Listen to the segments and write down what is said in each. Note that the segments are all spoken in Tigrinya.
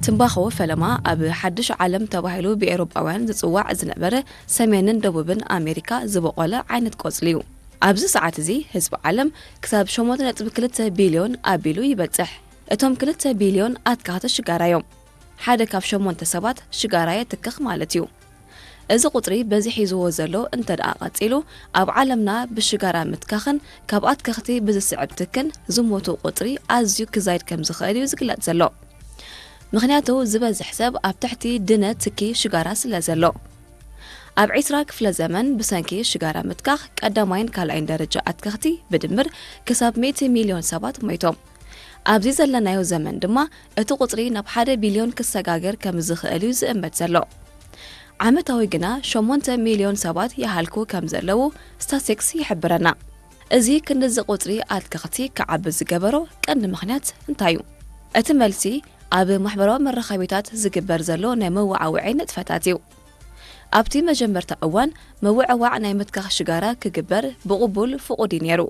ትምባኾ ፈለማ ኣብ ሓድሽ ዓለም ተባሂሉ ብኤውሮጳውያን ዝጽዋዕ ዝነበረ ሰሜንን ደቡብን ኣሜሪካ ዝበቖለ ዓይነት ቆጽሊ እዩ። ኣብዚ ሰዓት እዚ ህዝቢ ዓለም ክሳብ ሸሞንተ ነጥቢ ክልተ ቢልዮን ኣቢሉ ይበጽሕ። እቶም ክልተ ቢልዮን ኣትካኽቲ ሽጋራ እዮም። ሓደ ካብ ሸሞንተ ሰባት ሽጋራ የትክኽ ማለት እዩ። እዚ ቁጽሪ በዚ ሒዝዎ ዘሎ እንተ ደኣ ቀጺሉ፣ ኣብ ዓለምና ብሽጋራ ምትካኽን ካብ ኣትከኽቲ ብዝስዕብ ትክን ዝሞቱ ቁጽሪ ኣዝዩ ክዛይድ ከም ዝኽእል እዩ ዝግለጽ ዘሎ። ምኽንያቱ ዝበዝሕ ሰብ ኣብ ትሕቲ ድነ ትኪ ሽጋራ ስለ ዘሎ። ኣብ ዒስራ ክፍለ ዘመን ብሰንኪ ሽጋራ ምትካኽ ቀዳማይን ካልኣይን ደረጃ ኣትከኽቲ ብድምር ክሳብ ሚእቲ ሚልዮን ሰባት ሞይቶም። ኣብዚ ዘለናዮ ዘመን ድማ እቲ ቁጽሪ ናብ ሓደ ቢልዮን ክሰጋገር ከም ዝኽእል እዩ ዝእመት ዘሎ። ዓመታዊ ግና ሸሞንተ ሚልዮን ሰባት ይሃልኩ ከም ዘለዉ ስታስቲክስ ይሕብረና። እዚ ክንድዚ ቁጽሪ ኣትከኽቲ ክዓቢ ዝገበሮ ቀንዲ ምኽንያት እንታይ እዩ? እቲ መልሲ ኣብ ማሕበራዊ መራኸቢታት ዝግበር ዘሎ ናይ መወዓውዒ ንጥፈታት እዩ። ኣብቲ መጀመርታ እዋን መወዕዋዕ ናይ ምትካኽ ሽጋራ ክግበር ብቕቡል ፍቑድ እዩ ነይሩ።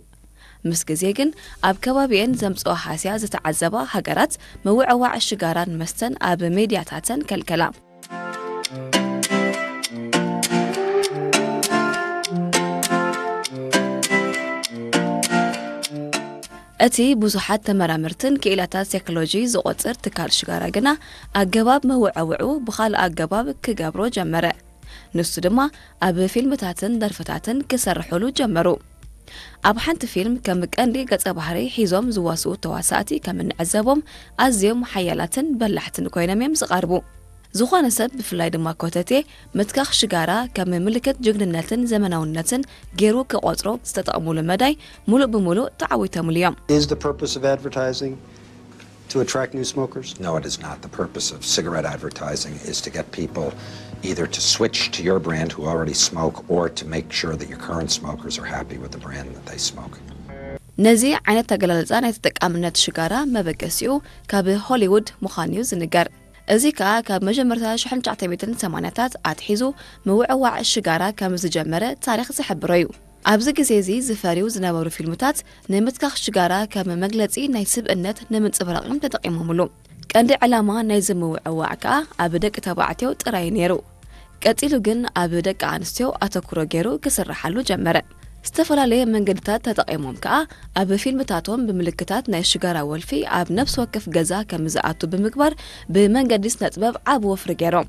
ምስ ግዜ ግን ኣብ ከባቢኤን ዘምጽኦ ሃስያ ዝተዓዘባ ሃገራት መወዕዋዕ ሽጋራን መስተን ኣብ ሜድያታተን ከልከላ። እቲ ብዙሓት ተመራመርትን ክኢላታት ሳይኮሎጂ ዝቖጽር ትካል ሽጋራ ግና ኣገባብ መወዐውዑ ብኻልእ ኣገባብ ክገብሮ ጀመረ። ንሱ ድማ ኣብ ፊልምታትን ደርፍታትን ክሰርሑሉ ጀመሩ። ኣብ ሓንቲ ፊልም ከም ቀንዲ ገጸ ባህሪ ሒዞም ዝዋስኡ ተዋሳእቲ ከም እንዕዘቦም ኣዝዮም ሓያላትን በላሕትን ኮይኖም እዮም ዝቐርቡ። ዝኾነ ሰብ ብፍላይ ድማ ኮተቴ ምትካኽ ሽጋራ ከም ምልክት ጅግንነትን ዘመናውነትን ገይሩ ክቖጽሮ ዝተጠቕሙሉ መዳይ ሙሉእ ብሙሉእ ተዓዊቶምሉ እዮም። Is the purpose of advertising to attract new smokers? No, it is not. The purpose of cigarette advertising is to get people either to switch to your brand who already smoke or to make sure that your current smokers are happy with the brand that they smoke. ነዚ ዓይነት ኣገላልጻ ናይ ተጠቃምነት ሽጋራ መበገሲኡ ካብ ሆሊውድ ምዃኑ እዩ ዝንገር። እዚ ከኣ ካብ መጀመርታ ሽሕን ትሽዓተ ሚእትን ሰማንያታት ኣትሒዙ ምውዕዋዕ ሽጋራ ከም ዝጀመረ ታሪኽ ዝሕብሮ እዩ። ኣብዚ ግዜ እዚ ዝፈርዩ ዝነበሩ ፊልምታት ንምትካኽ ሽጋራ ከም መግለጺ ናይ ስብእነት ንምንጽብራቕ እዮም ተጠቒሞምሉ። ቀንዲ ዕላማ ናይዚ ምውዕዋዕ ከኣ ኣብ ደቂ ተባዕትዮ ጥራይ ነይሩ። ቀጺሉ ግን ኣብ ደቂ ኣንስትዮ ኣተኩሮ ገይሩ ክስርሓሉ ጀመረ። ዝተፈላለየ መንገድታት ተጠቒሞም ከኣ ኣብ ፊልምታቶም ብምልክታት ናይ ሽጋራ ወልፊ ኣብ ነፍሲ ወከፍ ገዛ ከም ዝኣቱ ብምግባር ብመንገዲ ስነጥበብ ዓቢ ወፍሪ ገይሮም።